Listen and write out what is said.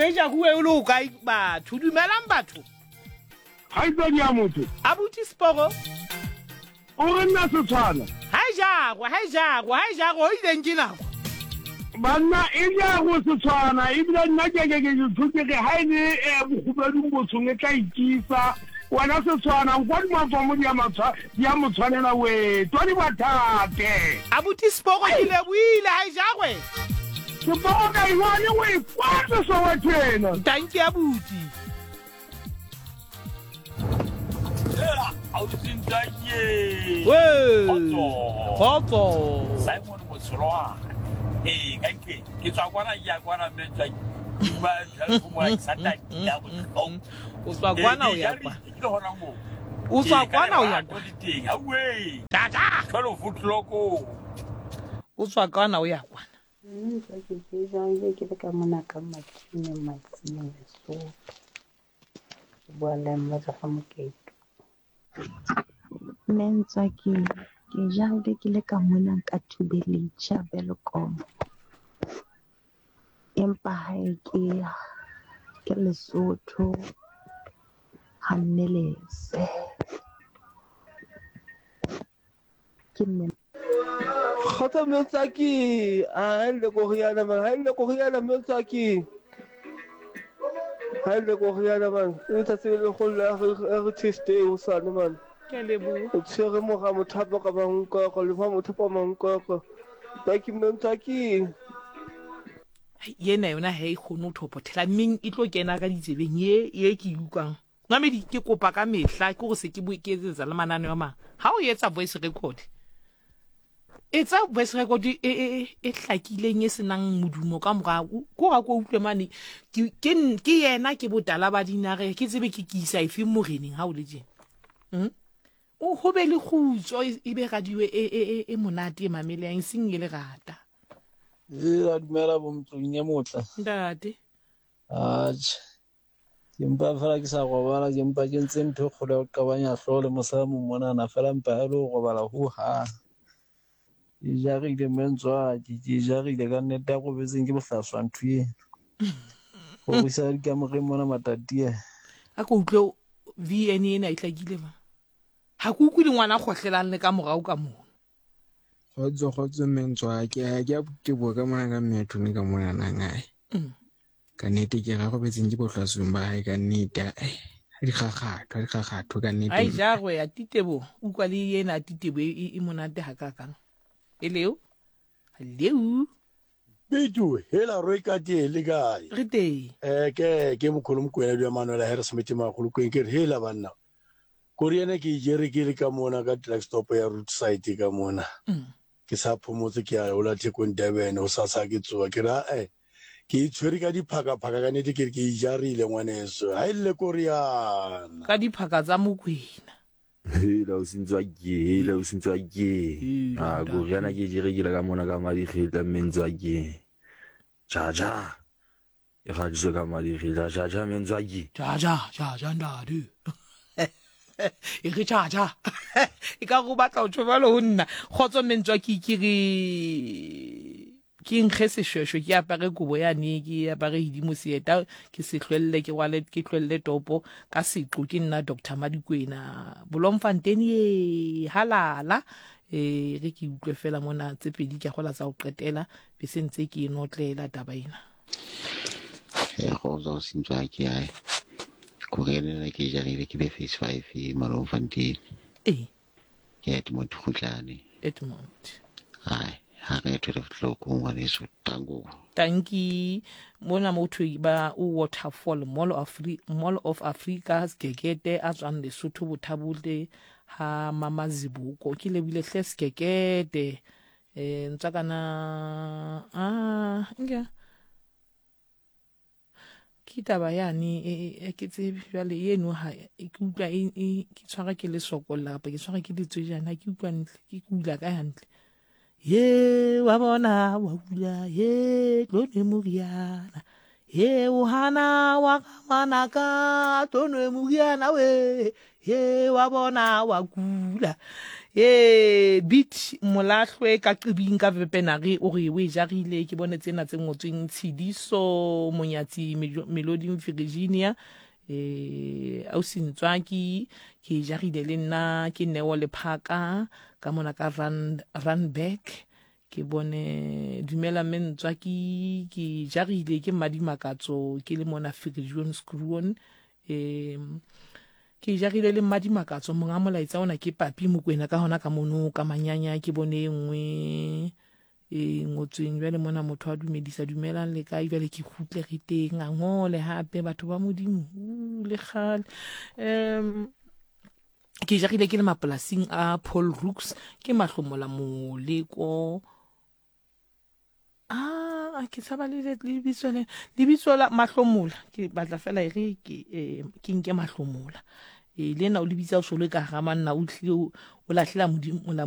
e jaguwe o le o kae batho? Dumelang batho. Kgaitsadi ya motho. Abuti Sporo. O re nna setshwana. Ha e jagwe, ha e jagwe, ha e jagwe, o ileng ke nako. Banna e jagwe setshwana ebile nna ke ke ke ke ke ha e le eh, bokgubedung botshong e tla ikisa wena setshwana nkwa dimatswamo di a mo tshwanela we twadi bathate. Abuti Sporo ke lebohile ha e jagwe. Seporo ka iwane o e kwatse Soweto ena. Tanki abuti. Kgotso. Simon Motsholwane. Ee, ka ke ke tswa kwana ke ya kwana mme tswa ba jalo mo ke sa tla ya botlhoko. O tswa kwana o ya kwa. Ke hona mo. O tswa kwana o ya kwa. Teng. Awe. Tata. 12 o'clock. O tswa kwana o ya kwana. Mme ke ke jang ke le ka mona ka Matsine Matsine Lesotho. Ke bua le mme tswa fa Moketo. Mme Ntswaki, ke jahile ke le ka mona ka Thubelitjha Welkom. Empa hae ke ke Lesotho ha Mmelese. Ke mme. Kgotso Metswaki, a e le koriana man, ha e le koriana Metswaki. Ha e le koriana man, e letsatsi le legolo la Heritage Day hosane man. Ke a leboha. O tshwere mora mothapo ka mankoko, le fa mothapo mankoko. Taki Metswaki. Yena yona ha e kgone ho thopothela mmeng e tlo kena ka ditsebeng ye ye ke e utlwang. Mamedi ke kopa ka mehla ke gore se ke ke etsetsa le mananeo a mang. Ha o etsa voice record, etsa voice record e e e, e hlakileng e senang modumo ka morao. Ko ga ko utlwe mane ke ke ke yena ke botala ba dinare ke tsebe ke ke isa efe moreneng ha o le tjena. O ho be le kgutso e be radio e e e, e monate e mamelehang e seng e lerata. Ee, dumela bomtlong e motla. Ntate. Atjhe. Ke mpa fela ke sa robala, ke mpa ke ntse ntho e kgolo ya ho qabanya hlooho le mosadi mong monana fela mpa e le ho robala ho hang. Ke jarile mme Ntswaki, ke jarile ka nnete ya robetseng ke bohlaswa ntho eno. Ho risa dikamoreng mona Matatiele. A ko utlwe VN ena e hlakile ma. Ha ke utlwe le ngwana kgohlelang le ka morao ka mono. Kgotso kgotso mme Ntswaki, a ke a teboha ka mona ka mme a thone ka mona nangae. Ka nnete ke ra robetseng ke bohlasweng ba hae ka nnete ai ha di kgakgatho ha di kgakgatho ka nnete Ai jagwe ya titebo utlwa le ena titebo e, e, e monate hakakang eleo leo Bitu, hela roi ka tee le kae? Re teng. Eh ke ke mokholo mokwena di Manuel Harris Smith magolo kweng ke re hela banna. Koriana ke jere ke le ka mona ka truck stop ya route side ka mona. Ke sa phomotse ke ya hola Thekong Durban ho sasa ke tsoa ke re ae ke e tshwere ka diphakaphaka ka nete ke re ke e jarile ngwaneso ha e lle koriana. Ka diphaka tsa Mokwena. Hela o sentswa ke hela o sentswa ke a koriana ke jere ke le ka mona ka madikgetla mme ntswa ke ja ja E kgadiswe ka madiri ja ja ja Menzwaki. Ja ja ja ja ntate. E re ja ja. E ka go batla o tjho jwalo ho nna. Kgotso Menzwaki ke re ke nkge seshweshwe ke apare kobo yane ke apare hidimo seeta ke se hlwelle ke rwale ke hlwelle topo ka seqo ke nna Dr. Madikwena Bloemfontein ye halala e re ke utlwe fela mona tse pedi ke gola tsa ho qetela be se ntse ke e notlela taba ena. Ya kgotsa go sentswa ke ae kore ena ke jarile ke be phase 5 Malomfontein. Ee. Ke Edmond Kgutlane. Edmond. Ai, ha re 12 o'clock ngwaneso tango. Tanki mona motho ba o Waterfall Mall of Mall of Africa Segekete a tswang Lesotho Bothabole ha Mama Zibuko ke lebile hle Segekete eh ntswakana ah nke ke taba yane e, e, e ke tsebe jwale eno ha ke utlwa e, e ke tshwara ke lesokolla kapa ke tshwara ke letswejana ke utlwa ntle ke kula ka hantle ye wa bona wa kula ye tlo nwe moriana ye o hana wa ga ngwanaka tlo nwe moriana we ye wa bona wa kula. Ee, Beat Molahlwe ka Qibing ka Vepenare o re o e jarile. Ke bone tsena tse ngotsweng Tshidiso Monyatsi Meloding Virginia. Eh, ausi Ntswaki ke e jarile le nna ke Neo Lephaka ka mona ka Rand Randburg. Ke bone dumela mme Ntswaki ke jarile ke Mmadimakatso ke le mona Viljoenskroon. E, ke jarile le Mmadimakatso monga molaetsa ona ke Papi Mokwena ka hona ka mono ka manyanya ke bone e nngwe e ngotsweng jwale mona motho a dumedisa dumelang le kae jwale ke kgutle re teng a ngole hape batho ba modimo le kgale um ke jarile ke le mapolasing a Paul Rooks ke mahlomola moleko ah ke tshaba le lebitso le lebitso la mahlomola ke batla fela e re ke eh, ke nke mahlomola e le ena o lebitsa o solo ka ga manna o tlile o lahlela modimo.